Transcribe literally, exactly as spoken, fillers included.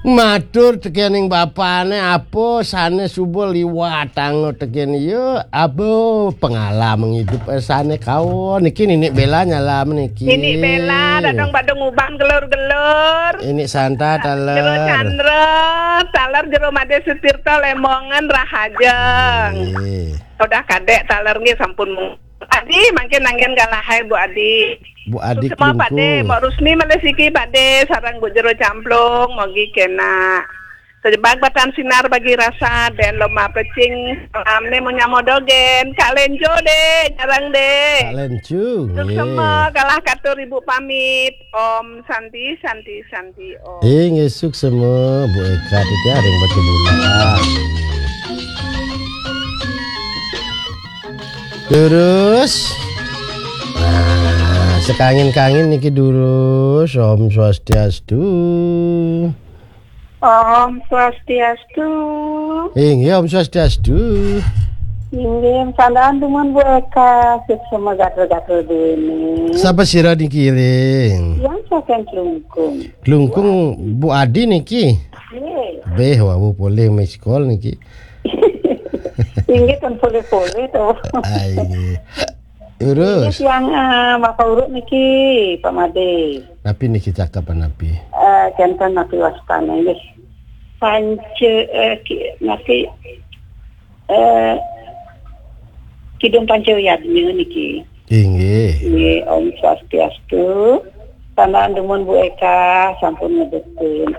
Matur tekening bapane, apa sane suba liwatang tekén iya, apa pengalaman hidup sane kaon. Niki Ninik Bella nyalam niki. Ninik Bella, dadong badung uban gelur-gelur. Ninik Santa taler. Jero Chandra, taler Jero Made Sutirta, Lemongan, Rahajeng. Nggih. Udah kadek taler nggih sampun mung-, Adi, mangkin anggen galahai Bu Adi. Bu Adi Suksma Klungkung. Pade, Mbok Rusmi malih siki pade, sareng Bu Jero Camplung, mogi kena. Sejebak batan sinar bagi rasa, den loma pecing, salamne munyamo dogen. Kak Lenjo de, jarang de. Kak Lenjo, nggih. Suksma, galah katur Ibu pamit. Om Santi, Santi, Santi, Om. Inggih, suksma, Bu Eka, titiang ring Batubulan. Durus. Nah, sekangin-kangin niki durus. Om Swastiastu. Om Swastiastu. Inggih, Om Swastiastu. Inggih, sandang dumun Bu Eka, suksma gatel-gatel duene. Sapa sira niki ring? Yang saking Klungkung. Klungkung Bu Adi niki. Nggih. Beh, wau polih miss call niki. Inggih, ten polih-polih to. Ah, inggih. Terus? Inggih, yang, eh, Bapak Uruk niki, Pak Made. Napi niki cakap napi? Eh, kenten napi wastane nggih. Panca, eh, ki-, napi, eh, Kidung Panca Yadnya niki. Inggih. Nggih, Om Swastiastu. Sandang dumun Bu Eka, sampun ngedetin.